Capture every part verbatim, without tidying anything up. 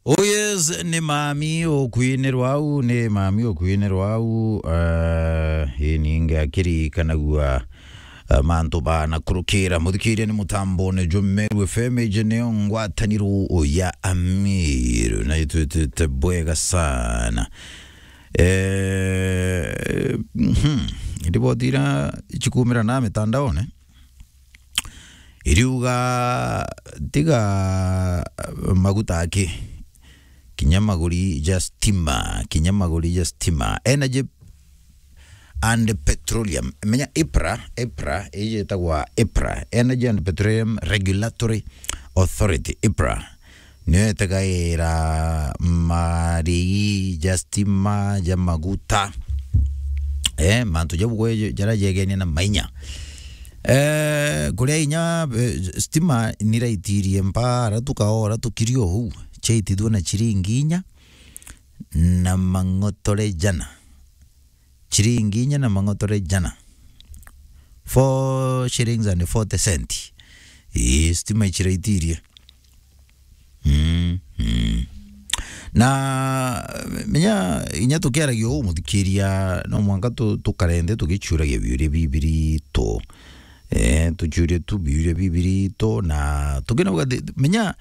Oh yes, ni mami ukuinirwa au, ni mami ukuinirwa au. Uh, ini nge akirikanagua uh, mantu bana kurukira. Muthikiria ni mutambo ni Jumeru F M, iji niyo ngwataniro ya Amiru, na itwitite bwega sana. Eh, mhm. Riboti ira cikumira na mitandaone iriuga tiga maguta aki, kinya maguri ja stima, kinya maguri ja stima. Energy and Petroleum, menya EPRA, EPRA, iji itagwa EPRA, Energy and Petroleum Regulatory Authority, EPRA, niyo itegaira marigi ja stima, ja maguta, eh, mantu jau gwe jaria jegenie na mainya. Eh, kuria inya, eh, stima niraitirie mpara tukaora tukirio huu, chaitithua na chiringi inya na mang'otore jana. Chiringi inya na mang'otore jana. Four shillings and forty cent. Ii, stima ichiraitirie. Mm, mm. Na menya inya tukiaragia uu, muthikiria, no mwanka tu-, tukarende tugichuragia biuria bibiritu. Eh, tuchurie tu biuria bibiritu na tukinauga thi-, menya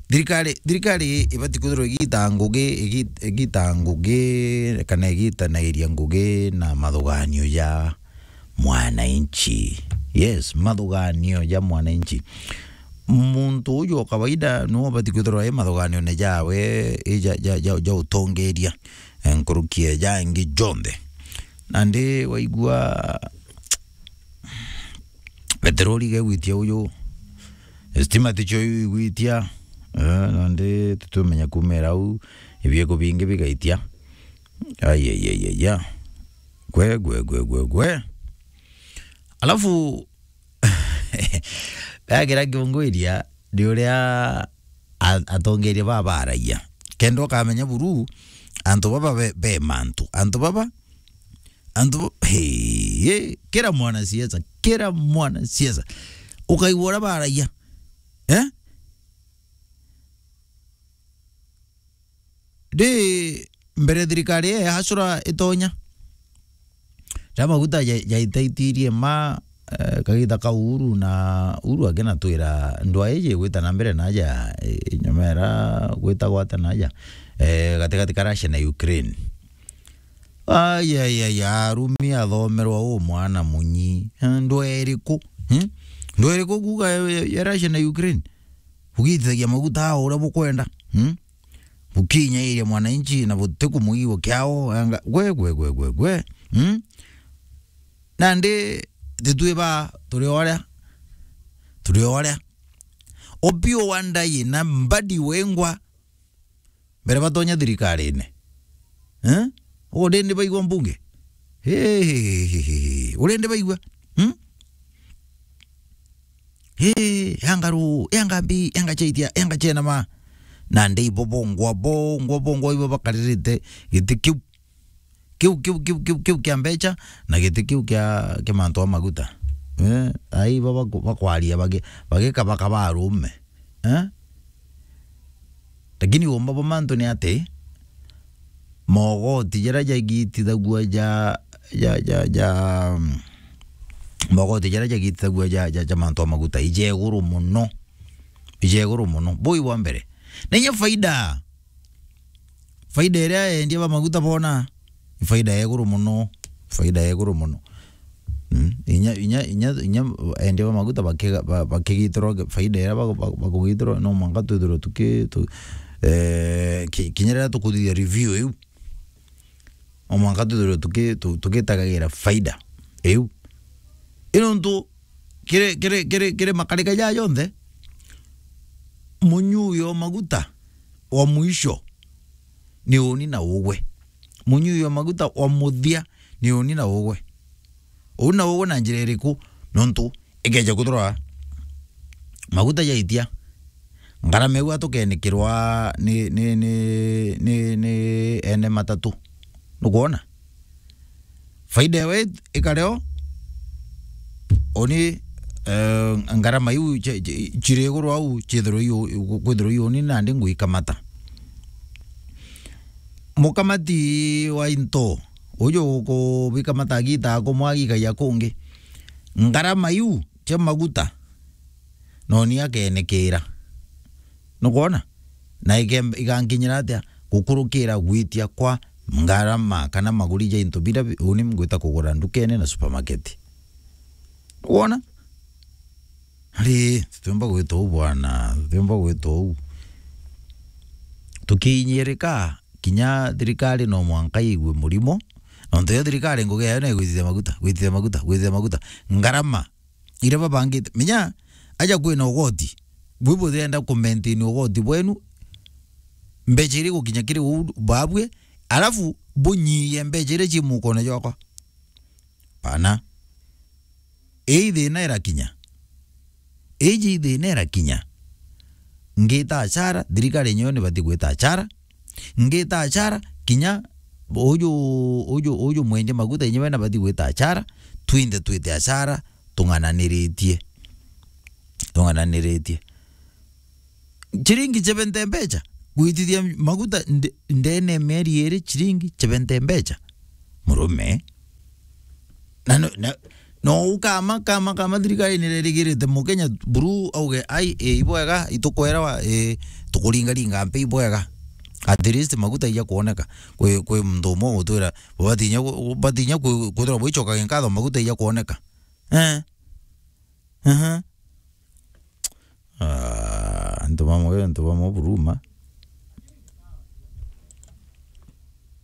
thirikari, thirikari ibati kwithirwa igita ngugi, igi-, igita ngugi kana igitanairia ngugi na mathuganio ja mwananchi. Yes, mathuganio ja mwananchi. Muntu uju o kawaida niwe ubati kwithirwa i mathuganione jawe, i ja, ja, ja, ja utongeria, eh, nkuruki e jangi jonthe. Nandi waigua peteroli gegwitia uju, stima ticio igwitia, eh, nandi tutumenya kumira au, ibieko bingi bigaitia. Ai, ai, ai, ai, ai. Gwe, gwe, gwe, gwe, gwe. Alafu, gagira kiungwiria ni uria a-, atongeria baba baragia. Kenda ukamenya buru, antu baba be, be mantu. Antu baba, antu ba-, hey, hey, kira mwanasiasa, kira mwanasiasa. Ukaigua uria baragia. Eh? Ndi mbere thirikari ya Hasura itonya, ja maguta ja-, jaitaitirie ma, eh, kagita ka Uhuru, na Uhuru akinatwira ndwa iji igwita na mbere naja, eh, nyomera gwita gwata naja, eh, gatigati ka Russia na Ukraine. Ai, ai, ai, arumi athomerwa u mwana munyi. Eh, ndwa iriku? Hmm? Ndwa iriku kuuga ya, ya, ya Russia na Ukraine? Ugitithagia maguta aa uria bukwenda. Hmm? Bukinyairia mwananchi na butikumuigua kiao, anga, gwe, gwe, gwe, gwe, gwe. Hmm? Nandi titwi ba turi oria, turi oria. Opiyo Wandayi na Mbadi Wengwa mbere batonya thirikarine. Eh? Ugu ndi ndi baigua mbunge? Hey, uri ndi baigua? Hmm? Hey, yanga ru, yanga mbi, yanga chaitia, yanga chenama. Nandi ibo bongwa, bongwa, bongwa ibo bakaririte giti kiu. Kiu, kiu, kiu, kiu, kiu kia mbecha na giti kiu kia, kia mantu a maguta. Eh, ai ibo baku-, bakwaria bagi-, bagikabakaba arume. Eh? Lakini uumba bwa mantu ni ati, mogoti jaria jagitithagua ja, ja, ja, ja, mm, mogoti jaria jagitithagua ja, ja, ja mantu a maguta ije iguru muno. Ije iguru muno. Bui bwa mbere. Na inya faida. Faida iria endia ba maguta bona, ni faida ya iguru muno, faida ya iguru muno. Mm, inya, inya, inya, inya endia ba maguta bakiga-, ba-, bakigitirwa ge-, faida iria ba-, ba-, bakugitirwa, no mwanka twithirwe tuki-, tu-, eh, ki-, kinya riria tukuthithia review iu, no mwanka twithirwe tuki-, tu-, tugitagagira faida iu. I nontu kiri, kiri, kiri, kiri makarika jaa jonthe, munyui o maguta wa mwisho ni uni na ugwe. Munyui o maguta wa muthia ni uni na ugwe. Uni na ugwe na njira iriku? Nontu ikeja kuthirwa maguta jaitia, ngarama iu atukenikirwa ni, ni, ni, ni, ni ene matatu. Nukwona? Faida ewe ikareo, uni, eh, ngarama iu chi-, chi-, chiri iguru au, chithirwe iu, kwithirwa iu uni nandi nguikamata. mukamati wa into, uju ukubikamata agita akumwagikagia kungi, ngarama iu cia maguta, noni akenikira. Nukwona? Na ike-, igankinyira atia gukurukira gwitia kwa ngarama kana maguri ja into bira bi-, uni ngwita kugura ndukene na supermarket? Wona? Ari, tutiumba gwita uu bwana, tutiumba gwita uu. Tukiinyirika, kinya thirikari no mwanka igue murimo, nontu yo thirikari ngugi yayo ni gwitithia maguta, gwitithia maguta, gwitithia maguta. Ngarama iria babangite. Menya, aja kwina ugoti, bwi buthienda ku maintain ugoti bwenu, mbeca iria igukinya kiri uu babue, alafu bunyiyie mbeca iria ci mukone jwakwa. Bana. Ii thina irakinya. Iji thina irakinya. Ngita achara, thirikari yenyewe nibati gwita achara. Ngita achara, kinya uju, uju, uju mwendia maguta yenyewe nabati gwita achara, twinthe twite achara, tung'ananiritie. Tung'ananiritie. Chiringi chebente mbecha, gwitithia maguta nde-, ndene mieri iri, chiringi chebente mbecha. Murume. Na no, na, no ukama, kama, kama thirikari nirerigirite Mukenya buru auge, "Ai, e, ibwega, itukwerawa, e, tukuringaringa mpe ibwega." At least maguta ija kuoneka. Kwi, kwi muntu umwe ugutwira, batinya ku-, batinya ku-, kwithirwa bwichokaga nkatho maguta ija kuoneka. Eh. Aha. Ah, antu bamwe, antu bamwe buruma.